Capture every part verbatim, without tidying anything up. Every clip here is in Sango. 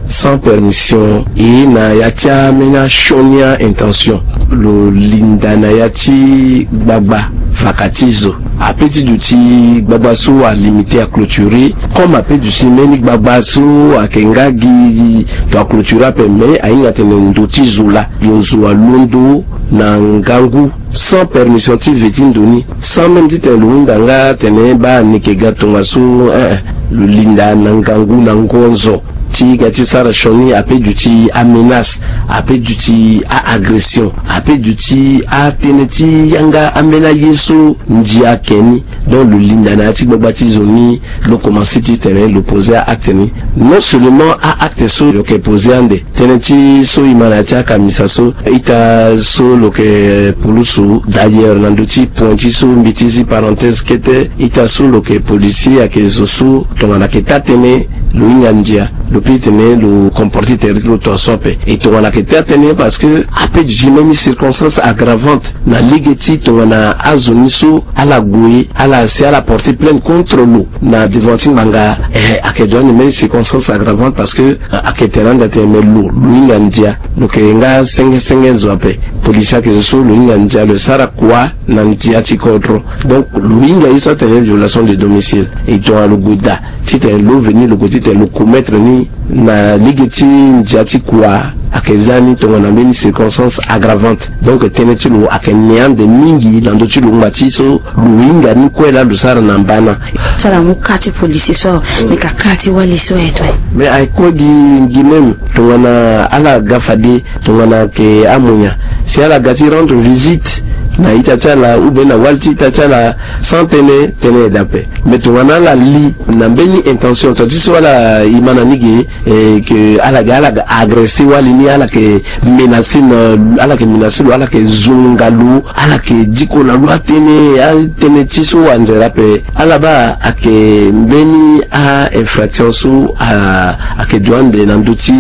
Sans permission, e na ya ti ameni asioni a-intention. Lo linda na ya ti gbagba vaka ti zo. Ape ti duti gbagba so alimité, aclôturé. Comme ape duti mbeni gbagba so ayeke nga gi to aclôturé ape, mais ahinga tene ndo ti zo laa, lo zo alondo na ngangu, sans permission ti ve ti ndo ni, sans même titene lo hunda nga tene baa ni yeke ga tongaso, eh, eh, lo linda na ngangu na ngonzo. Ti ga ti sara sioni ape duti amenace, ape duti a-agression, ape duti atënë ti yanga ambeni aye so ndia ayeke ni. Donc lo linda na ya ti gbagba ti zo ni, lo commencé titene lo poser a-acte ni. Non seulement a-acte so lo yeke poser ande, tënë ti so e ma na ya ti akamisa so, ita so lo yeke pulusu. D'ailleurs na ndö ti point ti so mbi ti zi parenthèse kete, ita so lo yeke policier ayeke zo so tongana ayeke taa tënë lo hinga ndia, lo peut titene lo comporter tere ti lo tongaso ape. E tongana ayeke taa tënë parce que ape duti mbeni circonstance aggravante na lege ti tongana azo ni so ala gue, ala si ala porter plainte contre lo na devant ti ngbanga, eh, ayeke droit ni mbeni circonstance aggravante parce que, eh, ayeke tene ande atene me lo, lo hinga ndia, lo yeke nga senge senge zo ape. Policier ayeke zo so lo hinga ndia, lo sara kua na ndia ti kodro. Donc lo hinga ye so atene violation de domicile. E tongana lo gue daa titene lo veni lo gue titene lo commettre ni na lege ti ndia ti kua, ayeke za ni tongana mbeni circonstance aggravante. Donc tënë ti lo ayeke ne ande mingi na ndö ti lo ngba ti so lo hinga ni kue laa lo sara na mbana. So ala mu ka ti policier so, mm, me ka ka ti wali so aye to aye. Mais aye kue gi, gi même tongana ala ga fade, tongana ayeke amonia, si ala ga ti rendre visite na ita ti ala ou bien na wali ti ita ti ala, sans tënë, tënë aye daa ape. Mais tongana ala li na mbeni intention, tonga ti so ala, e ma na ni ge, eh, ke ala ga, ala ga agresser wali ni, ala yeke menacer na, ala yeke menacer lo, ala yeke zunga lo, ala yeke diko na lo atënë, atënë ti so anzere ape. Ala baa ayeke mbeni a-infraction so a, ayeke du ande na ndö ti,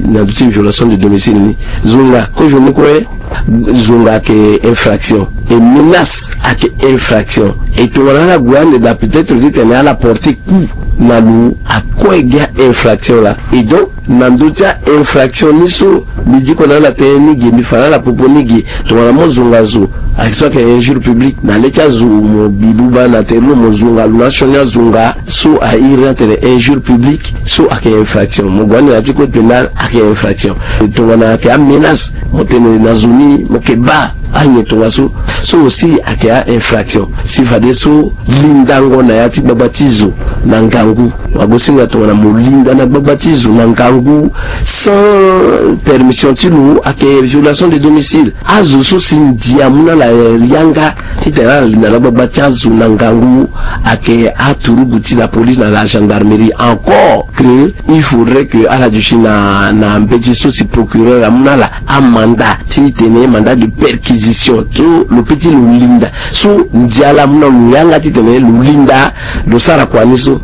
na ndö ti violation de domicile ni. Zunga, kozo ni kue, zunga ayeke infraction. E menace ayeke infraction. E tongana ala gue ande daa, peut-être titene ala porter coup na lo, akue gi a-infraction laa. Et donc na ndö ti a-infraction ni so mbi diko na ala tënë ni ge, mbi fa na ala popo ni ge, tongana mo zonga zo, ayeke so ayeke injure publique na le ti azo, mo bi buba na tere lo, mo zonga lo na asioni azonga, so a iri ni atene injure publique, so ayeke infraction. Mo gue ande na ya ti code pénal, ayeke infraction. Tongana ayeke amenace, mo tene na zo ni, mo yeke baa anyen tongaso, so aussi ayeke a-infraction. Si fadeso lindango na ya ti gbagba ti zo na ngangu, wagosinga tongana mo linda na gbagba ti zo na ngangu sans permission ti lo, ayeke violation de domicile. Azo so si ndia amu na ala yanga titene ala linda na gbagba ti azo na ngangu, ayeke aturugu ti la police na la gendarmerie. Encore que il faudrait que ala duti na, na mbeti so si procureur amu na ala amanda titene mandat de perquisition so lo peut ti lo linda. So ndia laa amu na lo yanga titene lo linda, lo sara kua ni so.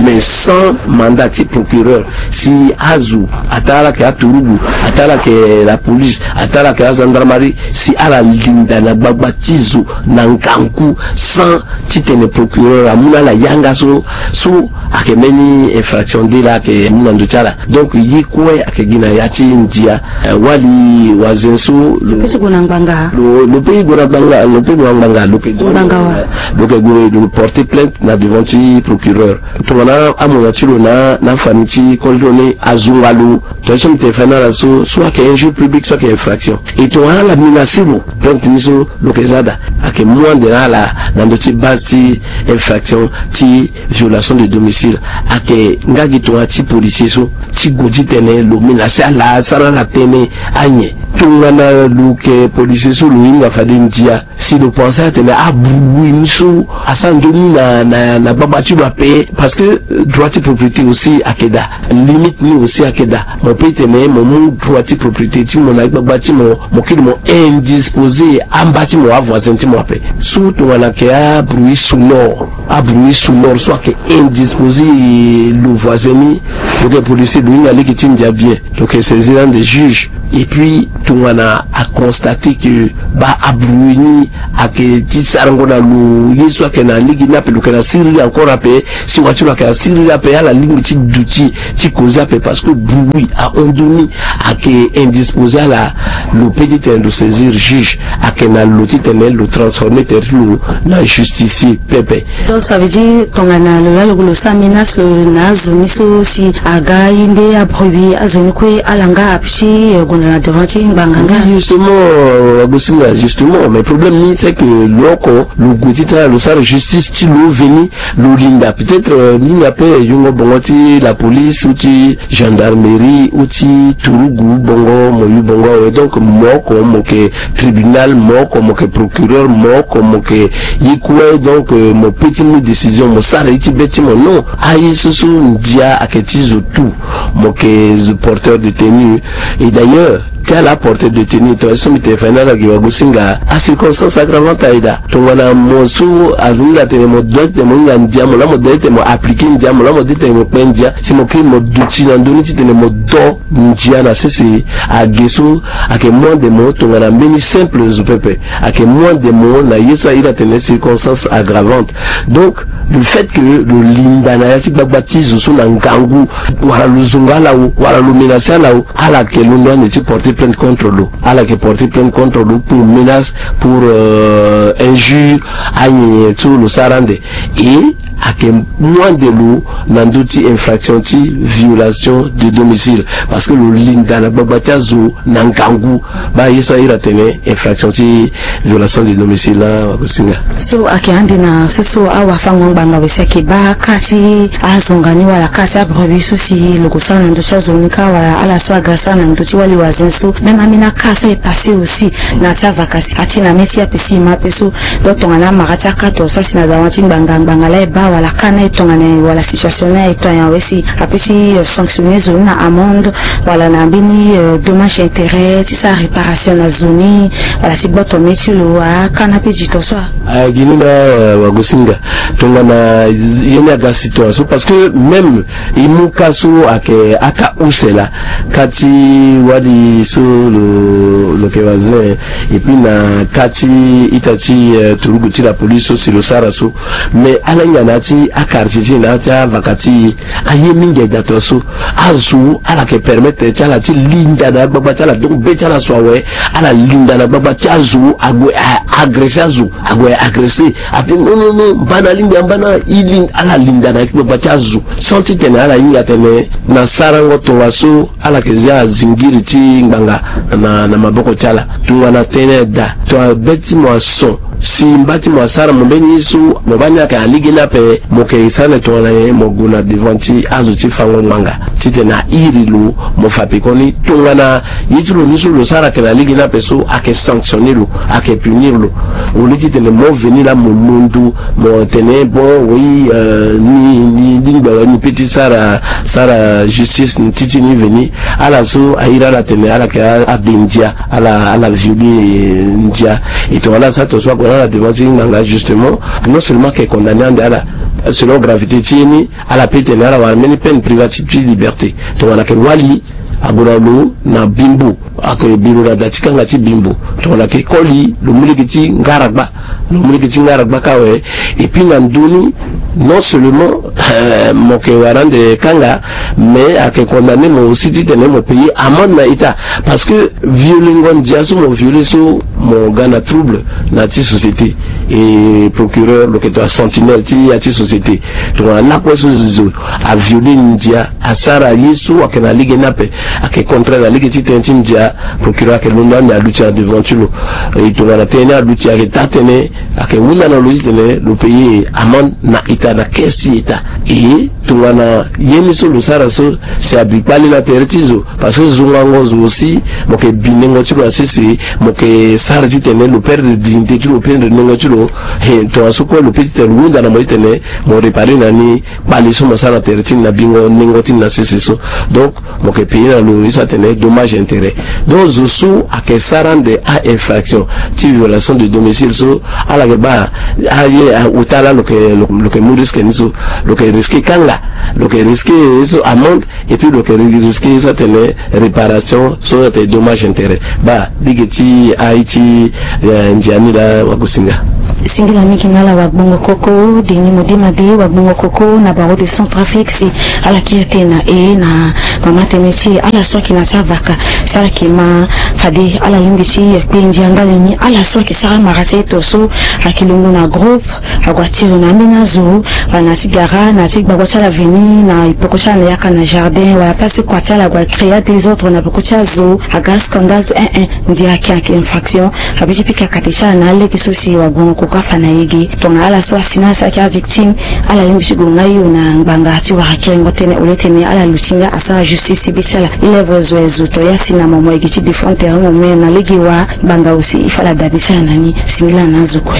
Mais sans mandat ti procureur, si azo, ataa ala yeke aturugu, ataa ala yeke la police, ataa ala yeke agendarmerie, si ala linda na gbagba ti zo na ngangu sans titene procureur amu na ala yanga so, so ayeke mbeni infraction de laa ayeke mu na ndö ti ala. Donc ye kue ayeke gi na ya ti ndia. Eh, wali wazen so lo, lo peut ti gue na ngbanga. Lo, lo peut gue na ngbanga, lo peut gue na ngbanga, lo yeke gue na ngbanga wa, lo yeke gue, lo porter plainte na devant ti procureur. Tongana amonia ti lo na, na afani ti koli ti lo ni azunga lo, tongana so mbi tene fa na ala so, so ayeke injure publique, so ayeke infraction. E tongana ala menacer lo, plainte ni so lo yeke za daa, ayeke mu ande na ala na ndö ti base ti infraction ti violation de domicile. Ayeke nga gi tongana ti policier so ti gue titene lo menacer ala, sara ala tënë anyen. Tongana lo yeke policier so lo hinga fade ndia, si lo pense atene abruit ni so asara nzoni na, na, na gbagba ti lo ape, parce que, euh, droit ti propriété aussi ayeke daa, limite ni aussi ayeke daa. Mo peut tene mo mu droit ti propriété ti mo na gbagba ti mo, mo kiri mo indisposer amba ti mo, avoisin ti mo ape. So tongana ayeke abruit sonore, abruit sonore so ayeke indisposer lo voisin ni, lo yeke policier, lo hinga lege ti ndia bien, lo yeke saisir ande juge. Et puis tongana a constate que ba abruwe ni ayeke ti sarango na lo ye so ayeke na lege ni ape, lo yeke na siriri encore ape. Si wa ti lo ayeke na siriri ape, ala lingbi ti duti ti koze ape parce que bruit ahon ndoni ayeke indisposé ala. Lo pe titene lo saisir juge, ayeke na lo titene lo transformer tere ti lo na justicier pepe. Donc ça veut dire tongana lo laa lo sara menace lo na azo ni so si aga ye nde abruit azo ni kue ala nga ape ti gonda na devant ti ngbanga nga. Justement, wagosinga, justement, mais problème ni c'est que lo oko lo gue ti tara lo sara justice ti lo veni, lo linda peut-être ni na pe yungo bongo ti la police ou ti gendarmerie ou ti turugu bongo mo yu bongo awe. Donc mo oko mo yeke tribunal, mo oko mo yeke procureur, mo oko mo yeke ye kue. Donc mo pe ti mu décision, mo sara ye ti be ti mo. Non, aye so so ndia ayeke ti zo tout. Mo yeke zo porteur de tenue. Et d'ailleurs ti ala porteur de tenue, tongana so mbi tene fa ni ala gi wagosinga, acirconstance aggravante aye daa. Tongana mo so azo ni la tene mo doit titene mo hinga ndia, mo laa mo doit titene mo appliquer ndia, mo laa mo doit titene mo kpe ndia, si mo kiri mo duti na ndö ni titene mo do ndia na sese, age so ayeke moins de mo tongana mbeni simple zo pepe. Ayeke moins de mo na ye so a iri atene circonstance aggravante. Donc le fait que lo linda na ya ti gbagba ti zo so na ngangu, wala lo zonga ala o, wala lo menacer ala o, ala yeke londo ande ti porter plainte contre lo. Ala yeke porter plainte contre lo pour menace, pour injure, anyenye so lo sara ande. Et ayeke moins de lo na ndö ti infraction ti violation de domicile, parce que lo linda na gbagba ti azo na ngangu. Baa ye so a iri atene infraction ti violation de domicile laa wagosinga. So ayeke ande na so so awafango ngbanga awe si ayeke baa ka ti azonga ni wala ka ti abrebi so si lo gue sara na ndö ti azo ni ka wala ala so aga sara na ndö ti wali wazin so même ambeni aka so e passé aussi na ya ti avaka si ati na mê ti ape si e ma ape so. Donc tongana amara ti aka to so asi na dawa ti ngbanga ngbanga laa e baa wala ka ni aye tongana nyen wala situation ni aye tongana nyen awe si ape ti sanctionner zo ni na amende wala na mbeni dommage intérêt ti sara réparation na zo ni wala ti gboto mê ti lo aka ni ape du temps so. Aye gi ni laa wagosinga. Tongana ye ni aga situation so parce que même e mu ka so ayeke aka use laa, ka ti wali so lo lo yeke wazin. Et puis na ka ti ita ti turugu ti la police so si lo sara so. Mais ala hinga na ya ti aquartier ti e na ya ti avaka ti e, aye mingi aye daa tongaso. Azo ala yeke permettre ti ala ti linda na gbagba ti ala, donc be ti ala so awe. Ala linda na gbagba ti azo ague agresser azo, ague agresser. Atene non non non, mba na alingbi amba na e linda. Ala linda na ya ti gbagba ti azo sans titene ala hinga atene na sarango tongaso ala yeke zia zingiri ti ngbanga na na maboko ti ala. Tongana tënë daa, tongana be ti mo ason si mba ti mo asara mo mbeni ye so mo baa ni ayeke na lege ni ape, mo yeke sara na tongana nyen? Mo gue na devant ti azo ti fango ngbanga titene a iri lo, mo fa pekoni tongana ye ti lo ni so lo sara ayeke na lege ni ape so ayeke sanctionner lo, ayeke punir lo. Au lieu titene mo veni laa mo londo mo tene bon oui, ni ni lingbi awe, ni pe ti sara sara justice ni ti ti ni veni. Ala so a iri ala tene ala yeke ade ndia, ala ala violer ndia. E tongana ala sara tongaso ague na ala devant ti ngbanga justement, non seulement ayeke condamner ande ala selon gravité ti ye ni, ala pe tene ala wara mbeni peine privative ti liberté. Tongana ayeke wali, ague na lo na bimbo, ayeke bi lo na da ti kanga ti bimbo. Tongana ayeke koli, lo mu lege ti ngaragba, lo mu lege ti ngaragba kâ awe. Et puis na ndö ni, non seulement mo yeke wara ande kanga, mais ayeke condamner mo aussi titene mo payer amende na ita. Parce que violengo ndia so mo violer so, mo ga na trouble na ya ti société. Et procureur lo yeke to asentinelle ti ya ti société. Tongana lakue so zo avioler ndia, asara ye so ayeke na lege ni ape, ayeke contraire na lege ti tënë ti ndia, procureur ayeke londo ande aluti na devant ti lo. E tongana tënë ni aluti ayeke taa tënë, ayeke hunda na lo titene lo payer amende na ita, na caisse ti ita. E tongana ye ni so lo sara so si abi kpale na tere ti zo. Parce que zongango zo aussi, mo yeke bi nengo ti lo na sese, mo yeke sara titene lo perdre dignité ti lo, perdre nengo ti lo. He, tongaso kue lo pe titene lo hunda na mo titene mo réparer na ni kpale so mo sara na tere ti ni na bingo nengo ti ni na sese so. Donc mo yeke payer na lo ye so atene dommage intérêt. Donc zo so ayeke sara ande a-infraction ti violation de domicile so, ala yeke baa aye ota laa lo yeke, lo yeke mu risque ni so, lo yeke Risque kanga, lo yeke risque ye so amende, et puis lo yeke risque ye so atene réparation so atene dommage intérêt. Baa, lege ti aye ti ndia ni laa wagosinga. Singila mingi na ala wagbongo koko Denis Modema de, wagbongo koko na barreau de Centrafrique, si ala kiri tënë na e na mama tënë ti e. Ala so ayeke na ti avaka, si ala yeke ma fade ala lingbi ti kpe ndia ndali ni. Ala so ayeke sara mara ti eto so ayeke longoni na groupe, ague atiri na ambeni azo, wala na ti gara, na ti gbagba ti ala veni na epoko ti ala na yaka na jardin, wala place ti kua ti ala ague acréer désordre na peko ti azo, aga scandale so, eh eh, ndia ayeke ayeke infraction. Abi ti pika kate ti ala na alege so si wagbongo koko afa na e ge. Tongana ala so asi na ala si ayeke avictime, ala lingbi ti gue na ayo na ngbanga ti wara kerengo tënë, au lieu ti tene ala luti nga asara justice ti be ti ala. E lève zo e zo, to ya si na momo e gi ti défendre terrain momo na lege wa ngbanga aussi, il faut ala dabi ti ala na ni. Singila na azo kue.